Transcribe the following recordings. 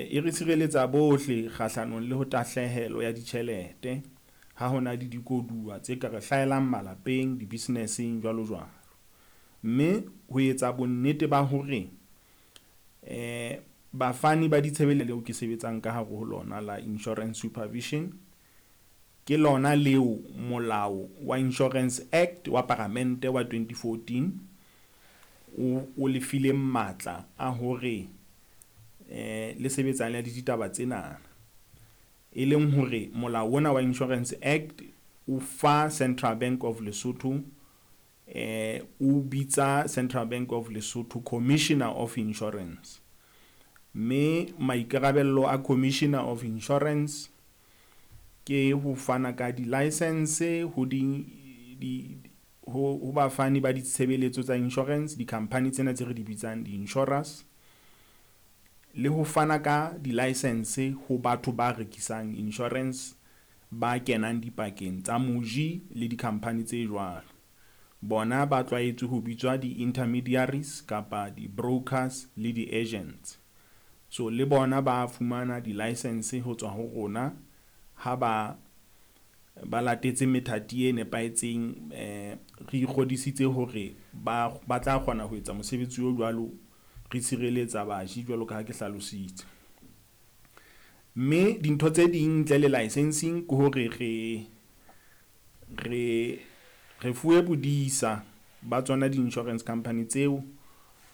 E re tshireletsa bohle kgahlanong le ho tahlehelo ya ditjhelete ha hona le dikoduwa tse ka re hlahelang malapeng, di-business-eng jwalo jwalo. Mme ho etsa bonnete ba hore bafani ba leo ke sebetsang ka hare ho lona la Insurance Supervision. Ke lona leo molao wa Insurance Act wa Palamente wa 2014 o lefile matla a hore le sebetsane le ditaba tsena. E leng hore molao ona wa Insurance Act o fa Central Bank of Lesotho, o bitsa Central Bank of Lesotho Commissioner of Insurance. Mme maikarabelo a Commissioner of Insurance ke ho fana ka di-licence ho di ho bafani ba ditshebeletso tsa insurance, di-company tsena tse re di bitsang di-insurers. Le ho fana ka di-licence ho batho ba rekisang insurance ba kenang dipakeng tsa moji le di-company tse jwalo. Bona ba tlwaetse ho bitswa di-intermediaries kapa di-brokers le di-agents. So le bona ba fumana di-licence ho tswa ho rona ha ba latetse methati e nepahetseng. Re ikgodisitse hore ba tla kgona ho etsa mosebetsi o jwalo, re tshireletsa baji jwalo ka ha ke hlalositse. Mme dintho tse ding ntle le licensing ke hore re fuwe bodisa ba tsona di-insurance company tseo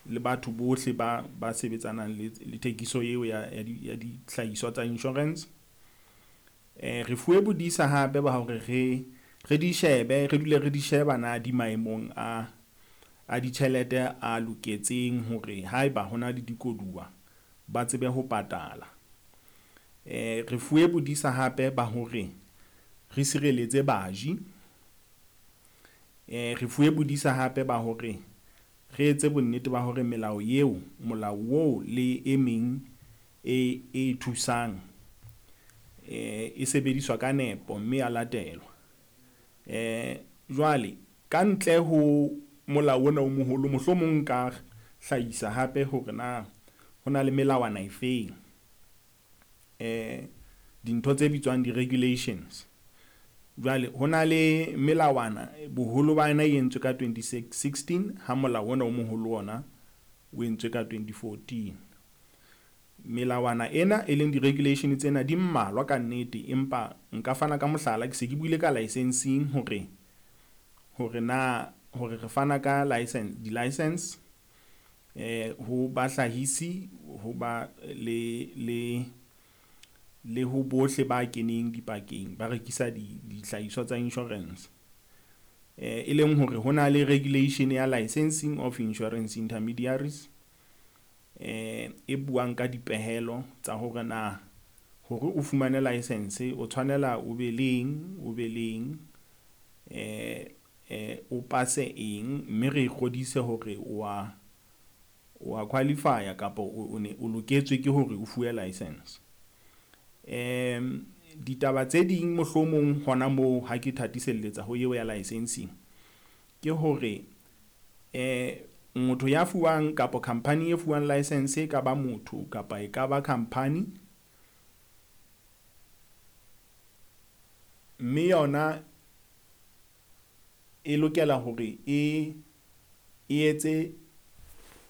le batho bohle ba sebetsanang le thekiso eo ya dihlahiswa tsa insurance. Re fuwe bodisa hape ba hore re di shebe, re dule re di sheba na di maemong a ditjhelete a loketseng hore haeba hona le dikoduwa ba tsebe ho patala. Re fuwe bodisa hape ba hore re sireletse baji. Re fuwe bodisa hape ba hore re etse bonnete ba hore melao eo, molao oo le e meng e thusang e sebediswa ka nepo mme ya latelwa. Jwale ka ntle ho molao ona o moholo, mohlomong nka hlahisa hape hore na ho na le melawana e feng. Dintho tse bitswang di-regulations. Jwale ho na le melawana boholo ba yona e entswe ka 2016 ha molao ona o moholo ona o entswe ka 2014. Melawana ena e leng di-regulation tsena di mmalwa ka nnete, empa nka fana ka mohlala. Ke se ke buile ka licensing hore na hore re fana ka license, di-license ho bahlahisi ho ba le ho bohle ba keneng dipakeng ba rekisa dihlahiswa tsa insurance. E leng hore ho na le regulation ya licensing of insurance intermediaries e buang ka dipehelo tsa hore na hore o fumane license o tshwanela o be leng, o be leng o pase eng, mme re kgodise hore wa qualify kapa o ne o loketswe ke hore o fuwe license. Ditaba tse ding mohlomong hona moo ha ke thatiselletsa ho eo ya licensing ke hore motho ya fuwang kapa company e fuwang license e ka ba motho kapa e ka ba company. Mme yona e lokela hore e etse.